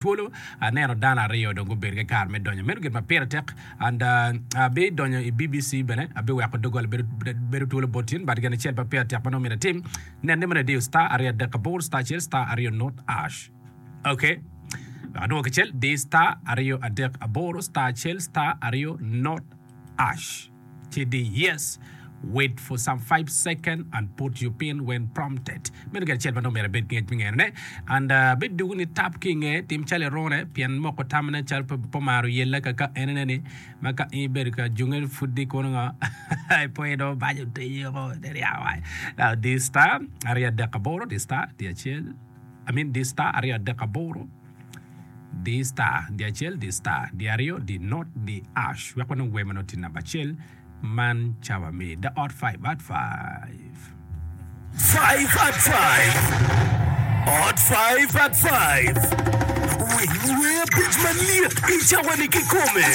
Twolo, aneno dano aryo dong gubedo ki kare me donyo. Meno gin ma pire tek. And abidonyo i BBC bene, abiweko doggola bedo, bedo twolo bot tin. But gin acel ma pire tek ma nongo myero atim, nen ni meno idiyo star aryo adek aboro star acel star aryo not ash. Okay. Wek adwok kicel, di star aryo adek aboro star acel star aryo not ash. Ci di yes, wait for some five second and put your pin when prompted. Meno gin acel ma nongo myero ibed ki ngec me ngene ne. And uh, bed dugu ni tap ki inge, tim calo irune, pien moko tamne calo pe pe omaro yelle ka ka enene ni, ma ka in ibedo ka junge pud di kono ngo, ipo dong baco otenyi oko, niryako wa. Now di star 238 di star di acel, I mean di star 238. Di star, di acel, di star, di aryo, di not, di ash. Wek wanong wer ma nongo tye namba acel man cawa me The Odd Five at Five. Five at Five, Odd Five at Five. Winy wer abic malyet i cawa-ni kikome.